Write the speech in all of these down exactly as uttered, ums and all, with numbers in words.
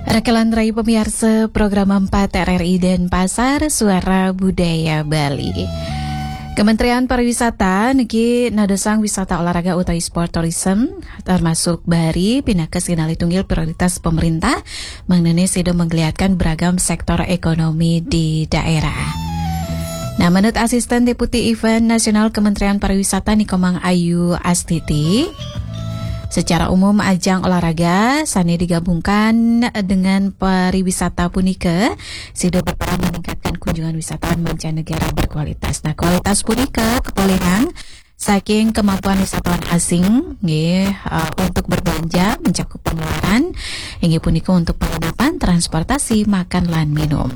Rakelan rai pamiarsa program empat R R I Denpasar, Suara Budaya Bali. Kementerian Pariwisata niki nadosang wisata olahraga utawi sport tourism termasuk bahari pinaka sinalih tunggil prioritas pemerintah, mangdane sida menggeliatkan beragam sektor ekonomi di daerah. Nah, menurut Asisten Deputi Event Nasional Kementerian Pariwisata Nikomang Ayu Astiti, secara umum ajang olahraga sane digabungkan dengan pariwisata punika sida berperan meningkatkan kunjungan wisatawan mancanegara berkualitas. Nah, kualitas punika kapolihang saking kemampuan wisatawan asing nggih, eh, untuk berbelanja, mencakup pengeluaran, inggih punika untuk penginapan, transportasi, makan lan minum.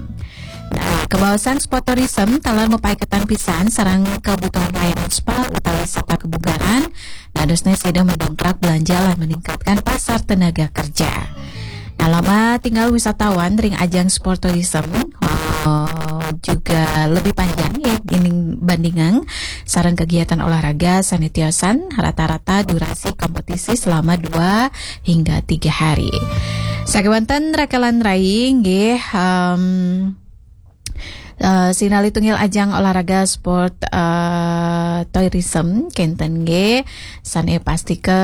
Nah, kabaosan sport tourism taler mapaiketan pisan sareng kebutuhan layanan spa utawi wisata kebugaran, dadosne sida mendongkrak belanja lan meningkatkan pasar tenaga kerja. Nah, lama tinggal wisatawan ring ajang sport tourism, eh, juga lebih panjang ya dibandingang sareng kegiatan olahraga sane tiosan, rata-rata durasi kompetisi selama dua hingga tiga hari. Sakewanten rakelan rai nggih, em, eh, sinalih tunggil ajang olahraga sport, eh, tourism kenten nggih sane pasti ke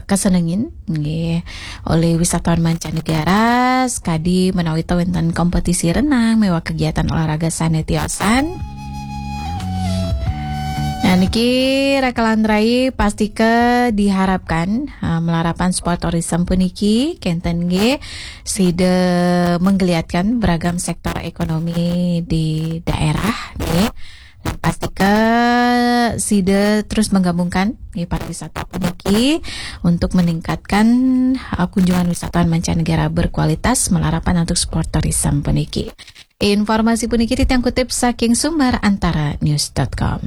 kesenengin nggih oleh wisatawan mancanegara, sekadi menawi to wenten kompetisi renang miwah kegiatan olahraga sane tiosan. Nah, niki rakelan rai pasti ke diharapkan, eh, malarapan sport tourism puniki kenten nggih sida menggeliatkan beragam sektor ekonomi di daerah nggih. Dan pasti ke sida terus menggabungkan nggih pariwisata puniki untuk meningkatkan, eh, kunjungan wisatawan mancanegara berkualitas malarapan untuk sport tourism puniki. Informasi puniki titiang kutip saking sumber antara news dot com.